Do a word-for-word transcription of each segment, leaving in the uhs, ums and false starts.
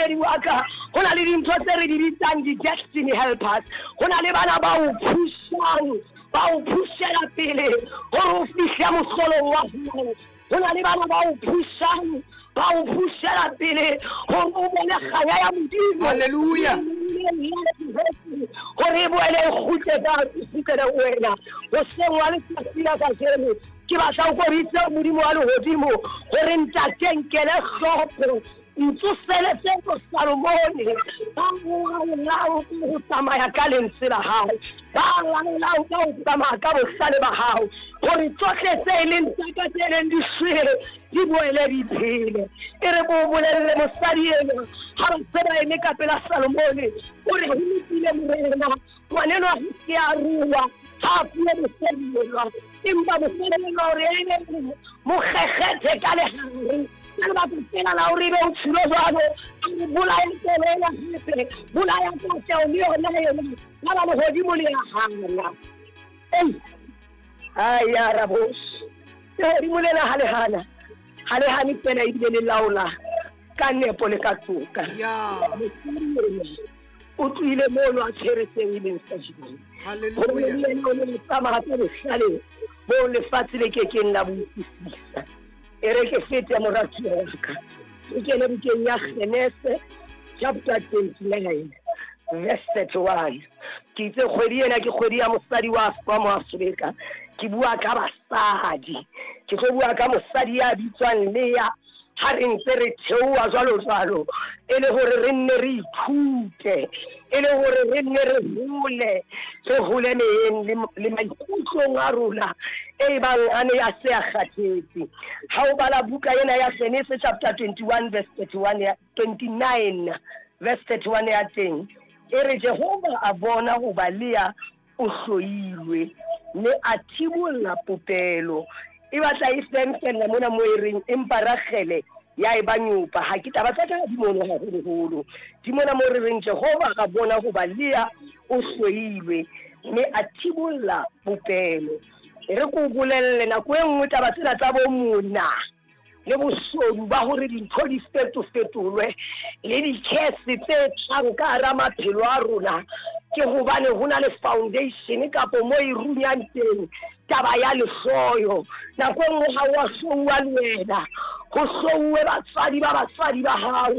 Momamedi wa ka, ho na le dintho tse re di bitsang di-destiny helpers. Ho na le bana ba o phusang, ba o phushela pele hore o fihle mohlolong wa hao. Ho na le bana ba o phusang, ba o phushela pele hore o bone kganya ya Modimo. Hallelujah. Hore e boele e kgutle ka e kgutlele ho wena. Hoseng wa letsatsi la kajeno, ke batla o koritse Modimo wa lehodimo hore ntate nkele hloko, ntsoseletse bo Salomone ba laolang ka ho tsamaya ka lentswe la hao, ba laolang ka ho tsamaya ka bohlale ba hao, hore tsohle tse e leng tsa ka tse leng di shwele di boele di phele. E re ko bolelle mosadi enwa ha ba se ba eme ka pela Salomone, o re ho lokile morena, ngwanenwa ha ke a rua, ha a fuwe mosadi enwa, empa mosadi enwa o re ene mo kgekgethe ka lehare. Ka lebaka fela la hore ebe o tshilo jwalo, a re bolaya toro ena hape, bolaya katleho le yona ena, ya ba lehodimo le ya hana. Ei, ai ya rabos, lehodimo lena ha le hana, ha le hane fela ebile le laola ka nepo le ka toka. Yeah. O tlohile mono a tshwere seo e leng sa jwang. Hallelujah. Hore le yena o ne a tsamaya ka bohlale bo lefatshe le kekeng la bo utlwisisa. E re ke fete moratuwa wa ka, ke kene bukeng ya Genese chapter twenty-nine verse thirty-one. Ke itse kgwedi ena ke kgwedi ya mosadi wa wa Moafrika. Ke bua ka basadi, ke tlo bua ka mosadi ya bitswang Lea. Ha re ntse re theoha jwalo jwalo, e le hore re nne re ithute, e le hore re nne re hole, re hole meyeng le, le maikutlong a rona e bang a ne a se a kgathetse. Ha o bala buka ena ya Genese chapter twenty-one verse thirty-one ya twenty-nine verse thirty-one ya teng, e re Jehova a bona hoba Lea o hloilwe, mme a thibolla popelo. E batla e fenfenna mona mo e reng empa Ragele ya e ba nyopa. Ha ke taba tsa ka di mono haholoholo, di mona mo re reng Jehova a bona hoba Lea o hloilwe, mme a thibolla popelo. E re ko bolelle nako e nngwe taba tsena tsa bo mona le boshodu ba hore dintho di fetofetolwe le di-curse tse tlang ka hara maphelo a rona, ke hobane ho na le foundation kapo mo e runyang teng taba ya lehloyo. Nako e nngwe ha wa hlouwa le wena, ho hlouwe batswadi ba batswadi ba hao,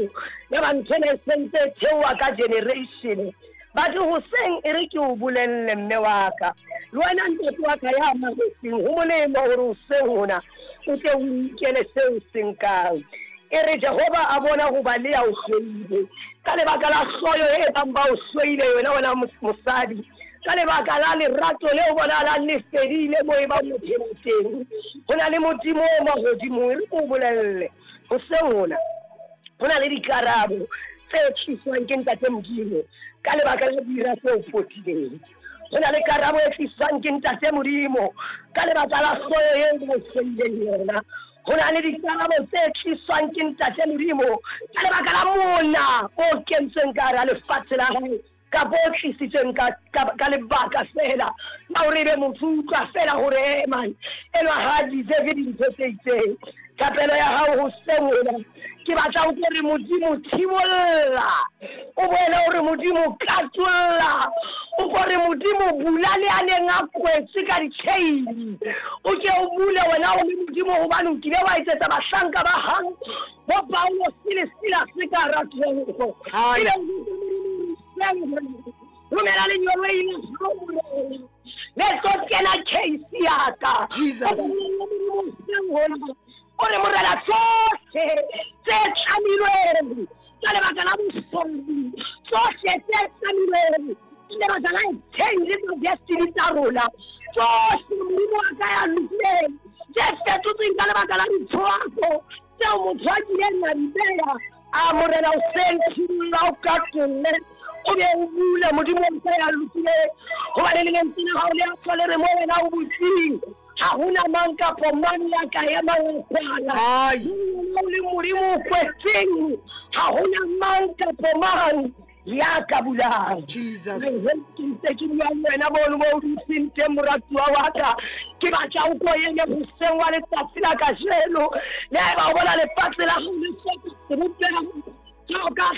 ya ba ntho ena e sentse e theoha ka generation. Batho hoseng e re ke o bolelle mme wa ka, le wena ntate wa ka ya mametseng, ho molemo hore hoseng hona o tle o inkele seo se nkang. E re Jehova a bona hoba Lea o hloile, ka lebaka la hloyo e bang ba o hloile yona wena mosadi, ka lebaka la lerato leo bonahalang le fedile mo e bang o phela teng. Ho na le Modimo o mahodimong, e re ke o bolelle hoseng hona ho na le dikarabo tse tliswang ke Ntate Modimo ka lebaka la dira tse o potileng. Ho na le karabo e tliswang ke Ntate Modimo ka lebaka la hloyo eo ba o hloileng yona. Ho na le dikarabo tse tliswang ke Ntate Modimo ka lebaka la mona o kentsweng ka hara lefatshe la hae, kapa o tlisitsweng ka, ka, ka lebaka fela la hore ebe motho o utlwa fela hore eh man, enwa ha a deserve dintho tse itseng. Thapelo ya hao hoseng hona, ke batla o re Modimo thibolla, o boele o re Modimo katolla, o ko re Modimo bula le a neng a kwetswe ka ditjheini, o ke o bule wena o le Modimo, hobane o kile wa etsetsa bahlanka ba hao bo Paulo le Silas ka hara toropo. Hai. Romela lengeloi la hao Morena, le tlo kena case ya ka. Jesus. O re Morena tsohle tse tlamilweng ka lebaka la bosodi, tsohle tse tlamilweng ka lebaka la exchange tsa destiny tsa rona, tsohle Modimo wa ka ya lokileng tse fetotsweng ka lebaka la dithoako tseo motho a kileng a di beya. A Morena o senthibolla o katolle, o be o bule Modimo wa ka ya lokileng, hobane le lentswe la hao le a tswa le re mo wena o butseng, ha hona mang kapo mang ya ka emang ho kwala. Ai. O le Modimo o kwetseng, ha hona mang kapo mang ya ka bulang. Jesus. Ke ntse ke bua le wena mono mo o dutseng teng moratuwa wa ka, ke batla o ko ene hoseng wa letsatsi la kajeno. Le haeba o bona lefatshe la hao le hloka sebopeho, jwalo ka